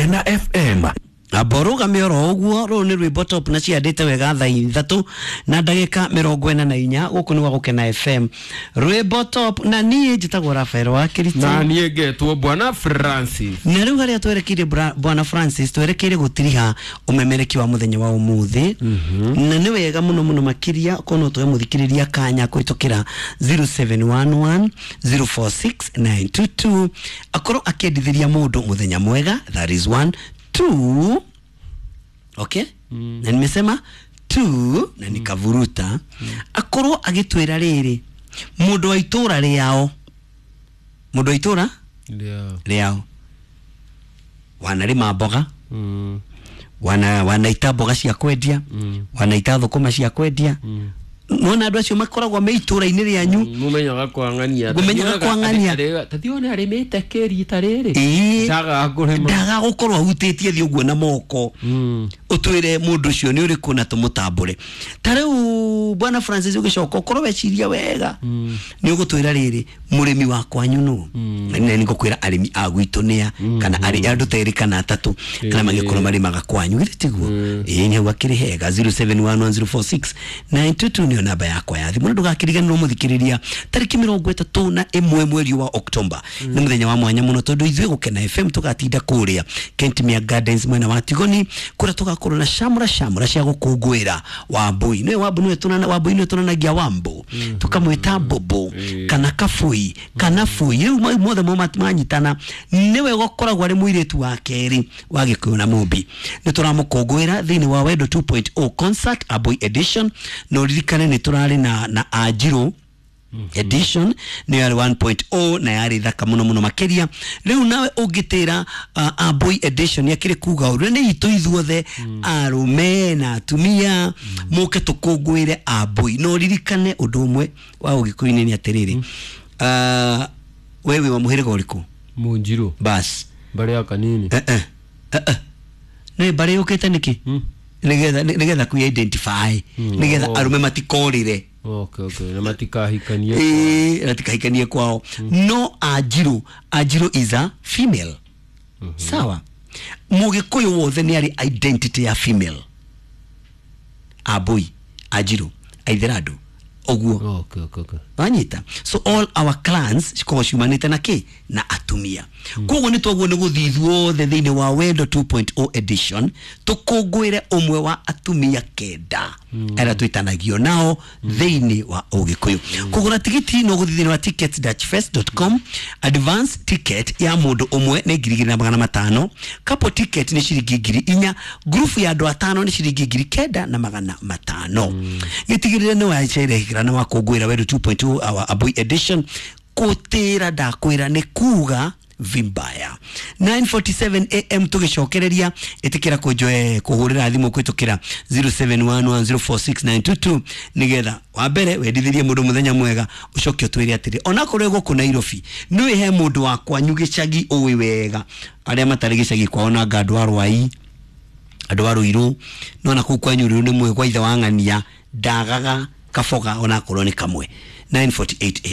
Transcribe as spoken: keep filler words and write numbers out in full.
Gukena F M. Amba oro ũguo rũrũ nĩ rwĩmbo top na ciandĩte wega thaa ithatũ na ndagĩka mĩrongo ĩna na inya gũkũ nĩ gwa Gũkena F M rwĩmbo top na niĩ njĩtagwo Rafael wa Kĩritũ na niĩ ngetwo Bwana Francis na rĩu harĩa twerekeire Bwana Francis twerekeire gũtiriha ũmemereki wa mũthenya wa ũmũthĩ mm -hmm. na nĩ wega mũno mũno makĩria kono tũhe mũthikĩrĩria kanya kũhĩtũkĩra zero seven one one zero four six nine two two akorwo akĩendithĩria mũndũ mũthenya mwega that is one two okay mm. na nimesema two na nikavuruta mm. akorwo agitwira riri mundu wa itura riao mundu wa itura riao riao wanarima mboga mm. wana wanaita mboga cia kwendia mm. wanaita thukuma cia kwendia mm. nona andu acio makoragwo me itura-inĩ rĩanyu mumenyaga kwang'ania mumenyaga kwang'ania tatione arimite kĩrita rĩrĩ ndaga kũrĩma ndaga gũkorwo ahutĩtie thĩ ũguo na moko ũtwĩre mũndũ ũcio nĩ ũrĩkũ na tũmũtambũre ta rĩu Bwana Francis ũgĩcoka ũkorwo weciria wega nĩ ũgũtwĩra rĩrĩ mũrĩmi wa kwanyu nũ na nĩ ngũkwĩra arĩmi a gwitũ nĩa kana arĩ andũ ta erĩ kana atatũ kana magĩkorwo marĩmaga kwanyu githĩ tiguo ĩĩ nĩ hau akĩrĩ hega zero seven one one zero four six nine two two nĩyo namba yakwa ya thimũ na ndũgakĩriganĩrwo mũthikĩrĩria tarĩki mĩrongo ĩtatũ na ĩmwe mweri wa Oktoba nĩ mũthenya wa mwanya mũno tondũ ithuĩ Gũkena F M tũgatinda kũrĩa Kentimia Gardens mwena wa Tigoni kũrĩa tũgakorwo na shamra shamra cia gũkũngũĩra Wambui nĩwe Wambui nĩwe tũnana Wambui nĩwe tũnanagia Wambo tũkamwĩta Bobo kana Kabui kana Bui rĩu mothe mo manyitana nĩwe gũkoragwo arĩ mũirĩtu wa kerĩ wa Gĩkũyũ na Mũmbi nĩ tũramũkũngũĩra thĩinĩ wa Wendo two point oh concert Aboi edition na ũririkane nĩ tũrarĩ na na Anjirũ Mm -hmm. edition nĩ yarĩ one point oh na yarĩ thaka mũno mũno makĩria rĩu nawe ũngĩtĩra uh, Aboi edition yakĩrĩ kuga ũrĩa nĩ itũ ithuothe mm. arũme na atumia mm. mũke tũkũngũĩre Aboi no ririkane ũndũ ũmwe wa ũgĩkũyũ-inĩ nĩ atĩrĩrĩ mm. uh, wewe wa mũhĩrĩga ũrĩkũ Mũnjirũ bas mbarĩ ya kanini eh eh eh eh nĩ mbarĩ yũkĩte nĩkĩ mm. nigetha nigetha ku identify mm. nigetha oh. arume matikorire okay okay na matikahikanie eh matikahikanie kwao mm. no Anjirũ Anjirũ is a female mm -hmm. sawa Mũgĩkũyũ wothe nĩ arĩ identity ya female Aboi Anjirũ Aitherandũ ũguo okay okay okay wanyita so all our clans cikoragwo ciumanĩte na kĩ na atumia mm. koguo nĩ twaguo nĩ gũthiĩ ithuothe thĩinĩ wa Wendo two point oh edition tũkũngũĩre ũmwe wa atumia kenda mm. arĩa twĩtanagio nao mm. thĩinĩ wa ũgĩkũyũ mm. kũgũra tigiti no gũthiĩ thĩinĩ wa tickets dash fest dot com advance ticket ya mũndũ ũmwe nĩ ngiri igĩrĩ na magana matano couple ticket nĩ ciringi ngiri inya group ya andũ atano nĩ ciringi ngiri kenda na magana matano mm. gĩtigĩrĩre nĩ wacerehekera na wakũngũĩra Wendo two point oh our Aboi edition kutira ndakwira nĩ kuga vimbaya nine forty-seven A M tugicokereria itikira kunjoe kuhurira thimu kwitukira zero seven one one zero four six nine two two nigetha wa mbere wendithirie mundu muthenya mwega ucoke utwire atiri onakorwo guku Nairobi niwe he mundu wa kwanyu gicagi uwi wega aria matari gicagi kwao na nga andu a Rwai andu a Ruiru nona kuu kwanyu riu ni mwe kwa ithe wa ng'ania ndagaga kaboga onakorwo ni kamwe nine forty-eight A M.